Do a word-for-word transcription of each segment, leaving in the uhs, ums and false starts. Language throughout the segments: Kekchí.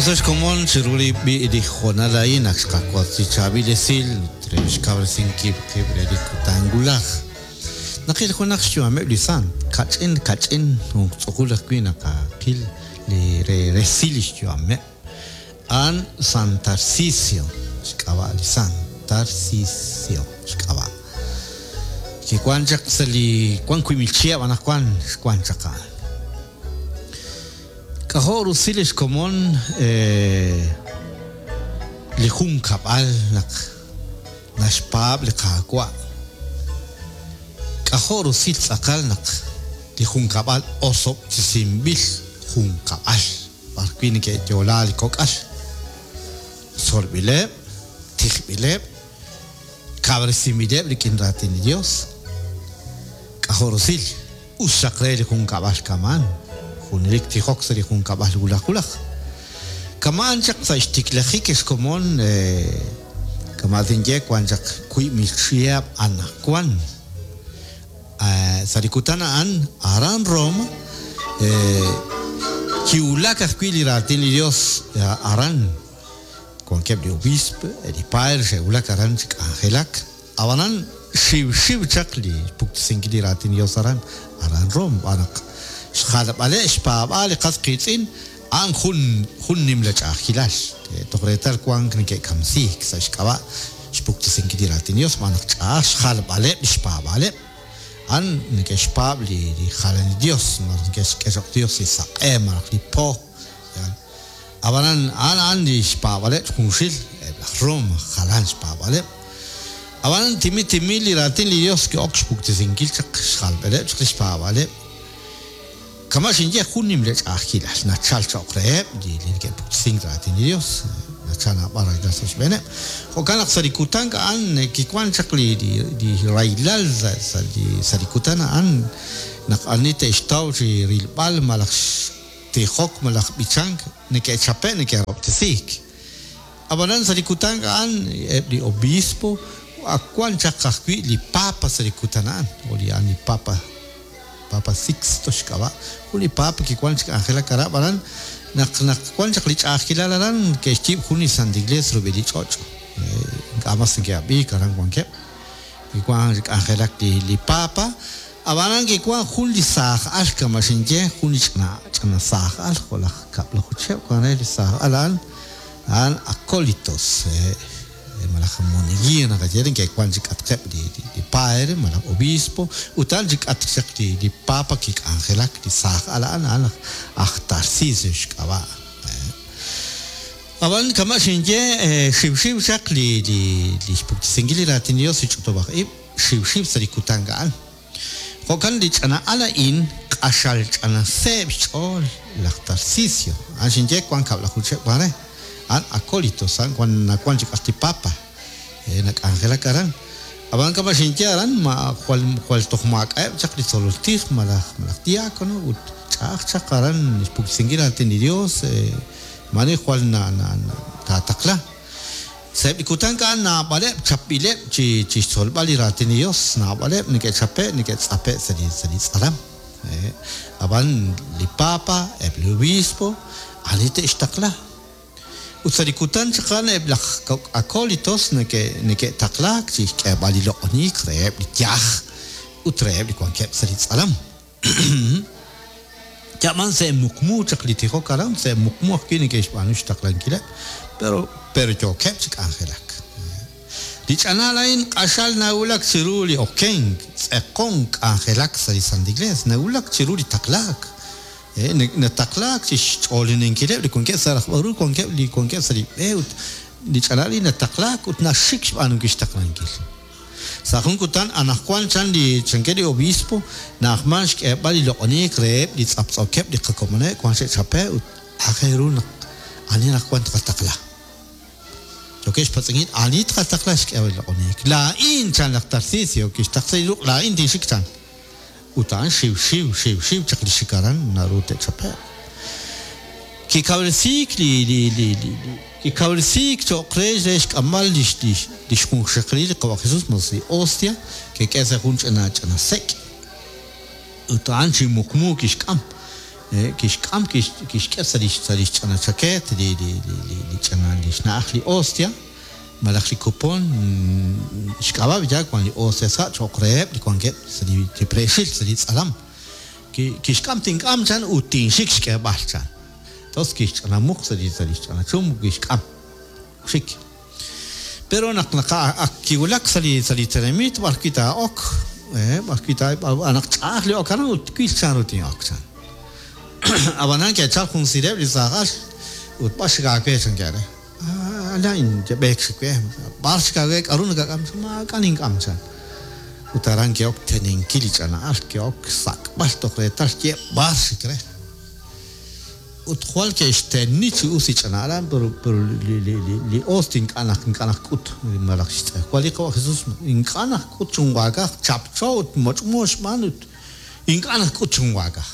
Us xkomon chiru li b'i li hoonal a'in naq xqawotz li chaab'il esil ut re xkawresinkil qib' re li kutan wulaj. Naqil junaq xyu'ameb' li sant, kach'in kach'in jun tz'uqul ajwi' naqaqil li re resil li xyu'ameb'. A'an San Tarcisio xk'ab'a' li San Tarcisio xk'ab'a'. Kiwan chaq sa' li wan wiib' mil chihab' anaqwan xwan chaq a'an. K'ajo' rusil xkomon li junkab'al naq naxpaab' li Qaawa'. K'ajo' rusil tz'aqal naq li junkab'al osob'tesinb'il junkab'al b'arwi' neke'yo'la li kok'al. Tzolb'ileb', tijb'ileb', kawresinb'ileb' rik'in raatin li Dios. K'ajo' rusil us xaq re li junkab'al kama'an. Junelik tijok sa' li junkab'al wulaj wulaj. Kama'an chaq sa' xtiklajik xkomon kama' tinye wan chaq wiib' mil chihab' anaqwan. Sa' li kutan a'an aran Roma kiwulak ajwi' li raatin li Dios aran. Wankeb' li obispo, li padre xe'wulak aran chi k'anjelak. Ab'anan xiwxiw chaq li puktesinkil li raatin li Dios aran aran Roma b'an naq xjalb'aleb' xpaab'aal li qas qiitz'in a'an jun jun nimla ch'a'ajkilal. Toj reetal wank neke'kamsiik sa' xk'ab'a' xpuktesinkil li raatin Dios b'an naq ch'a'aj xjalb'aleb' li xpaab'aaleb'. A'an neke'xpaab' li li jalan li Dios malaj neke'xk'e cho'q Dios li saq'e malaj li po. Ab'anan a'an a'an li xpaab'aleb' junxil eb' laj Roma jalan xpaab'aleb'. Ab'anan timil timil li raatin li Dios ki'ok xpuktesinkil chaq xjalb'aleb' chaq li xpaab'aleb'. Kama' xinye jun nimla ch'a'ajkilal nachal cho'q reheb' li li neke'puktesink raatin li Dios. Nachal naab'al rahilal sa' xb'eeneb'. Jo'kan naq sa' li kutan a'an kiwan chaq li li li rahilal sa' sa' li sa' li kutan a'an naq ani te'xtaw chi rilb'al malaj tijok malaj b'ichank neke'chape' neke'rob'tesiik. Ab'anan sa' li kutan a'an eb' li obispo ak wan chaq ajwi' li papa sa' li kutan a'an o li a'an li papa Papa Sixto xk'ab'a'. Jun li papa kiwan chi k'anjelak aran ab'anan naq naq wan chaq li ch'a'ajkilal aran ke'xyiib' jun li Santa Iglesia rub'el li ch'och'. Ink'a' mas neke'ab'iik aran wankeb'. Kiwan chi k'anjelak li li papa. Ab'anan kiwan jun li saaj al kama' xinye jun li ch'ina ch'ina saaj al jo' laj kab'laju chihab' wan re li saaj al a'an a'an acólitos malaj moneguía naqaye neke'wan chi k'atqeb' li li padre malaj obispo ut a'an chi k'atq chaq li li papa kik'anjelak li saaj al a'an a'an aj Tarcisio xk'ab'a'. Ab'an kama' xinye xiwxiw chaq li li li xpuktesinkil li raatin Dios li ch'utub'aj ib' xiwxiw sa' li kutan a'an. Jo'kan li ch'ina al a'in q'axal ch'ina seeb' xch'ool laj Tarcisio. A'an xinye wan kab'laju chihab' wan re. A'an acólitos a'an wan nawan chi k'atq li papa nak'anjelak aran. Ab'an kama' xinye aran ma jwal jwal toj maak'a'eb' chaq li tzolol tij malaj malaj diácono ut ch'a'aj chaq aran xpuktesinkil raatin li Dios maani jwal na na taataqla. Sa'eb' li kutan a'an naab'aleb' chapb'ileb' chi chi xtzolb'al li raatin li Dios naab'aleb' neke'chape' neke'tz'ape' sa' li sa' li tz'alam. Ab'an li papa eb' li obispo ani te'xtaqla. Ut sa' li kutan chaq a'an eb' laj acólitos neke' neke'taqlaak chi xk'eeb'al li loq'oniik reheb' li yaj ut reheb' li wankeb' sa' li tz'alam. Yab'an sa' muqmu chaq li tijok aran sa' muqmu ajwi' neke'xb'aanu xtaqlankileb' pero pero yookeb' chi k'anjelak. Li ch'anal a'in q'axal nawulak chiru li okenk tz'eqon k'anjelak sa' li Santa Iglesia nawulak chiru li taqlaak. Nataqlaak chi xch'oolininkileb' li wankeb' sa' rajb'al ru wankeb' li wankeb' sa' li b'e ut li ch'anal a'in nataqlaak ut naxik xb'aanunkil xtaqlankil. Sa' jun kutan anaqwan chan li chankeb' li obispo na'ajman xk'eeb'al li loq'oniik reheb' li tz'aptz'okeb' li qakomoneb' wan xe'chape' ut aajel ru naq ani anaqwan tqataqla. Yookeb' xpatz'inkil ani tqataqla xk'eeb'al li loq'oniik. Laa'in chan laj Tarcisio kixtaqsi li ruq' laa'in tinxik chan. Ut a'an xiwxiw xiwxiw chaq li xik aran naru te'chape'. Kikawresiik li li li li kikawresiik cho'q re re xk'amb'al li li li xjunxaqalil li Qawa' Jesus mas li hostia ke'k'e sa' jun ch'ina ch'ina sek'. Ut a'an chi muqmu kixk'am. Kixk'am kixk'e sa' li sa' li xch'ana chakeet li li li li ch'ana li xna'aj li hostia malaj li kupon xk'ab'a' ya wan li hostia sa' cho'q reheb' li wankeb' sa' li preexil sa' li tz'alam. Kixk'am tink'am chan ut tinxik xk'eeb'al chan. Entonces kixch'anamuq sa' li sa' li xch'ana chum kixk'am xik. Pero naq naq kiwulak sa' li sa' li tenamit b'ar wi' taa'ok b'ar wi' ta naq ch'a'aj li ok aran ut twil chan ru tin'ok chan. Ab'anan ke'chal jun sireb' li saajal ut b'ar xik aawe chan ke're. Alain b'eek xik we b'ar xik aawe k'aru nakak'am maak'a' nink'am chan. Ut aran ke'ok teninkil li ch'ana'al ke'ok sak'b'al toj reetal xye b'ar xik re. Ut jwal ke'xteni chi us li ch'ana'al pero pero li li li li ost ink'a' naq ink'a' naq k'ut malaj xtz'ejwal li Qawa' Jesus ink'a' naq k'ut chunwaakaj chapcho ut moch'mo xb'aan ut ink'a' naq k'ut chunwaakaj.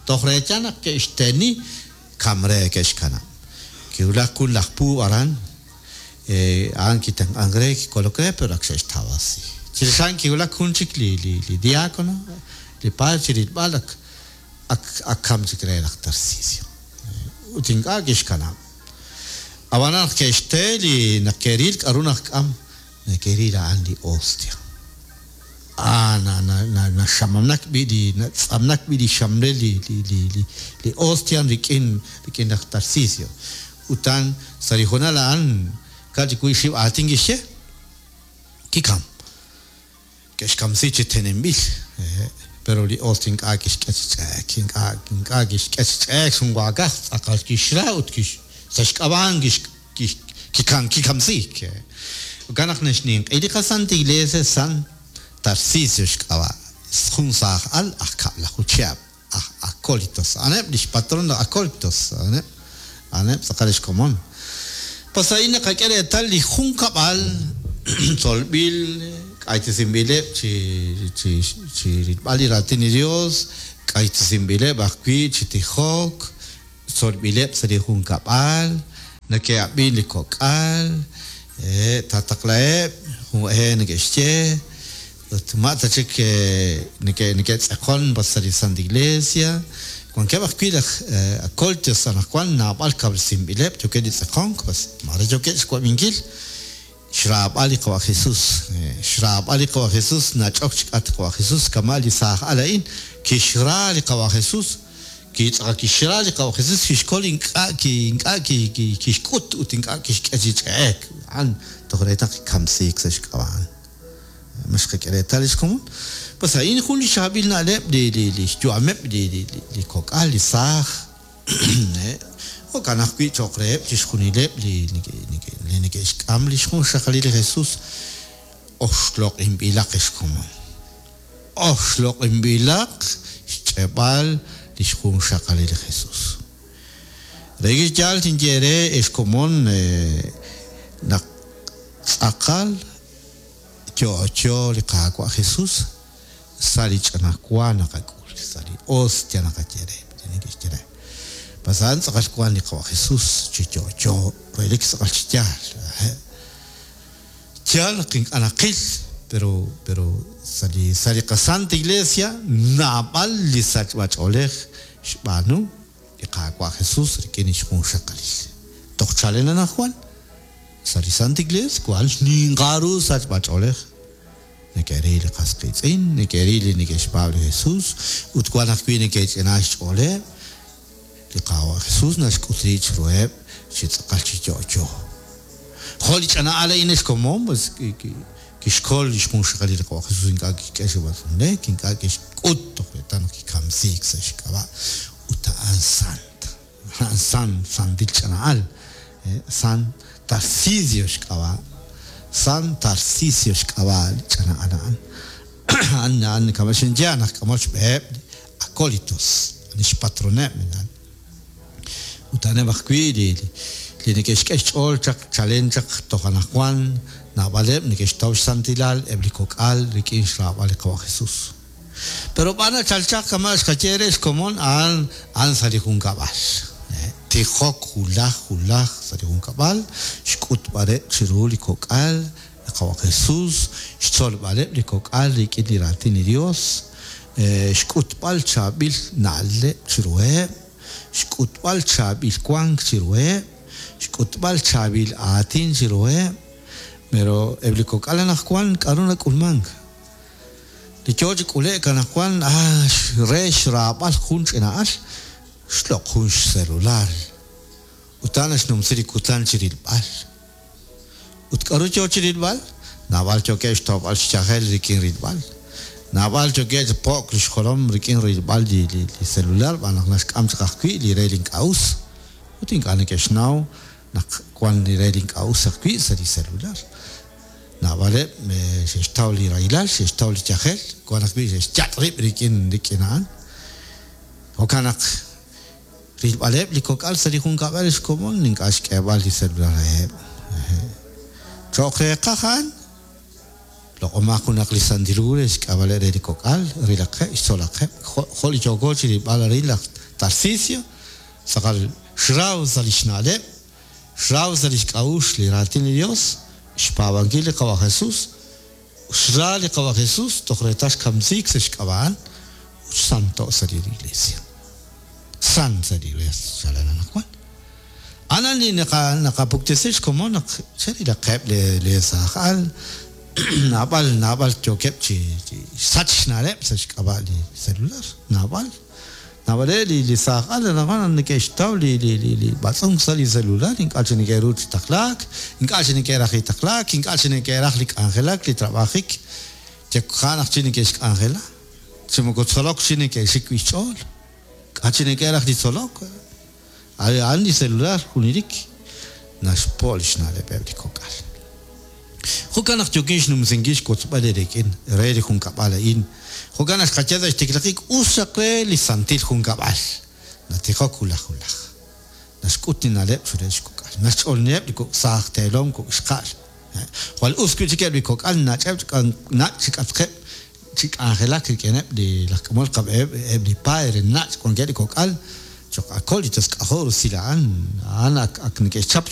Toj reetal naq ke'xteni kamre ke'xkanab'. Kiwulak jun laj puub' aran a'an kitenq'ank re kikolok re pero ak xe'xtawasi. Chirix a'an kiwulak jun chik li li li diácono li padre chirilb'al ak ak ak kam chik re laj Tarcisio. Ut ink'a' kixkanab'. Ab'anan naq ke'xte li naq ke'ril k'aru naq k'am neke'ril a'an li hostia. Ah, na na na naxamamnak b'i li natz'amnak b'i li xamlel li li li li li hostia rik'in rik'in laj Tarcisio. Utan sa' li hoonal a'an k'a' chik wi' xib' aatin kixye kikam. Ke'xkamsi chi tenenb'il. Pero li hostia ink'a' kixk'e chi ch'eek, ink'a' ink'a' kixk'e chi ch'eek xunwaakaj tz'aqal kixra ut kix sa' xk'ab'a'an kix kix kikam kikamsiik. Jo'kan naq naxninq'i li qaSanta Iglesia San Tarcisio xk'ab'a' jun saajal aj kab'laju chihab' aj acólitos. A'aneb' li xpatron laj acólitos, a'aneb' a'aneb' tz'aqal xkomon. Pues a'in naqak'e reetal li junkab'al tzolb'il k'aytesinb'ileb' chi chi chi rilb'al li raatin li Dios, k'aytesinb'ileb' ajwi' chi tijok, tzolb'ileb' sa' li junkab'al, neke'ab'in li kok'al, tataqlaheb' jun e neke'xye ut ma' ta chik neke neke'tz'eqon sa' li Santa Iglesia. Wankeb' ajwi' laj acólitos anaqwan naab'al kab'lsinb'ileb' yookeb' li tz'eqonk pues mare yookeb' xwab'inkil xraab'al li Qawa' Jesus. Xraab'al li Qawa' Jesus nach'ok chik'at li Qawa' Jesus kama' li saajal a'in kixra li Qawa' Jesus kitz'aqal kixra li Qawa' Jesus kixkol ink'a' ki ink'a' ki kixk'ut ut ink'a' kixk'e chi ch'e'ek a'an toj reetal kikamsiik sa' xk'ab'a'an. Ma xqak'e reetal li xkomon. Pues a'in jun li xaab'il na'leb' li li li xyu'ameb' li li li kok'al li saaj jo'kan ajwi' cho'q reheb' chixjunileb' li li neke'xk'am li xjunxaqalil li Jesus oxloq'inb'ilaq xkomon. Oxloq'inb'ilaq xch'eb'al li xjunxaqalil li Jesus. Relik chi yaal tinye re xkomon naq tz'aqal yo'yo li Qaawa' Jesus sa' li ch'ana wa naqak'ul, sa' li hostia naqaye re, neke'xye re. Pues a'an tz'aqal wan li Qawa' Jesus chi yo'yo, relik tz'aqal chi yaal. Yaal naq ink'a' naqil, pero pero sa' li sa' li qaSanta Iglesia naab'al li sachb'ach'oolej xb'aanu li Qaawa' Jesus rik'in li xjunxaqalil. Toj chalen anaqwan sa' li Santa Iglesia wan xninqal ru sachb'ach'oolej. Neke'ril li qas qiitz'in, neke'ril li neke'xpaab' li Jesus ut wan ajwi' neke'ch'ina xch'ooleb'. Li Qaawa' Jesus naxk'ut rib' chiruheb' chi tz'aqal chi yo'yo. Jo' li ch'ana'al a'in xkomon pues kixkol li xjunxaqalil li Qawa' Jesus ink'a' kixk'e chi b'atz'unlek, ink'a' kixk'ut toj reetal naq kikamsiik sa' xk'ab'a' ut a'an sant. A'an san, santil ch'ana'al. San Tarcisio xk'ab'a'. San Tarcisio xk'ab'a' li ch'ana'al a'an. A'an a'an kama' xinye naq k'amol xb'eheb' acólitos, li xpatroneb' a'an. Ut a'aneb' ajwi' li li neke'xk'e xch'ool chaq chalen chaq toj anaqwan naab'aleb' neke'xtaw xsantilal eb' li kok'al rik'in xraab'al li Qawa' Jesus. Pero b'ar nachal chaq kama' xqaye re xkomon a'an a'an sa' li junkab'al. Tijok wulaj wulaj sa' li junkab'al, xk'utb'aleb' chiru li kok'al li Qawa' Jesus, xtzolb'aleb' li kok'al rik'in li raatin li Dios, Xk'utb'al chaab'il na'leb' chiruheb', xk'utb'al chaab'il wank chiruheb', xk'utb'al chaab'il aatin chiruheb'. Pero eb' li kok'al anaqwan k'aru nak'ulmank? Li yo chi k'ule'k anaqwan ah re xraab'al jun ch'ina'al xloq' jun xcelular ut a'an naxnumsi li kutan chi rilb'al. Ut k'aru yo chi rilb'al? Naab'al yookeb' xtawb'al xyajel rik'in rilb'al. Naab'al yookeb' chi po'k li xjolom rik'in rilb'al li li li celular b'an naq naxk'am chaq ajwi' li re li ink'a' us. Ut ink'a' neke'xnaw naq wan li re li ink'a' us ajwi' sa' li celular. Naab'aleb' xe'xtaw li rahilal, xe'xtaw li yajel, wan ajwi' xe'xyat' rib' rik'in rik'in a'an. Jo'kan naq rilb'aleb' li kok'al sa' li junkab'al xkomon ink'a' xk'eeb'al li celular reheb'. Cho'q reeqaj a'an loq'omaq junaq li Santil Hu re xk'ab'aleb' re li kok'al, rilaqeb', xtzolaqeb', jo' li yooko chi rilb'al arin laj Tarcisio, tz'aqal xraw sa' li xna'leb', xraw sa' li xk'a'uxl li raatin li Dios, xpaab'ankil li Qawa' Jesus, xra li Qawa' Jesus toj reetal xkamsiik sa' xk'ab'a'an ut xsanto' sa' li Iglesia. Sant sa' li Iglesia chalen anaqwan. Anan li naqa naqapuktesi xkomon naq cherilaqeb' le le saaj al naab'al naab'al yookeb' chi xsach xna'leb' sa' xk'ab'a' li celular, naab'al. Naab'aleb' li li saaj al anaqwan neke'xtaw li li li li b'atz'unk sa' li celular, ink'a' chi neke'ru chi taqlaak, ink'a' chi neke'raj li taqlaak, ink'a' chi neke'raj li k'anjelak, li trab'ajik, yekja' naq chi neke'xk'anjela, chi moko tzolok chi neke'xik wi' xch'ool. K'a' chi neke'raj li tzolok? A'an li celular junelik naxpo' li xna'leb'eb' li kok'al. Jo'kan naq yookin xnumsinkil xwotzb'al eerik'in re li junkab'al a'in. Jo'kan naq xqaye sa' xtiklajik us xaq re li santil junkab'al. Natijok wulaj wulaj. Naxk'ut li na'leb' chiruheb' xkok'al. Naxch'oolniheb' li kok' saaj teelom kok' xqa'al. Jwal us wi' chik eb' li kok'al nach'eb' nach' chik'atqeb' chi k'anjelak rik'ineb' li laj k'amol qab'eheb' eb' li padre nach' wankeb' li kok'al cho'q acólitos k'ajo' rusil a'an a'an ak ak neke'xchap chi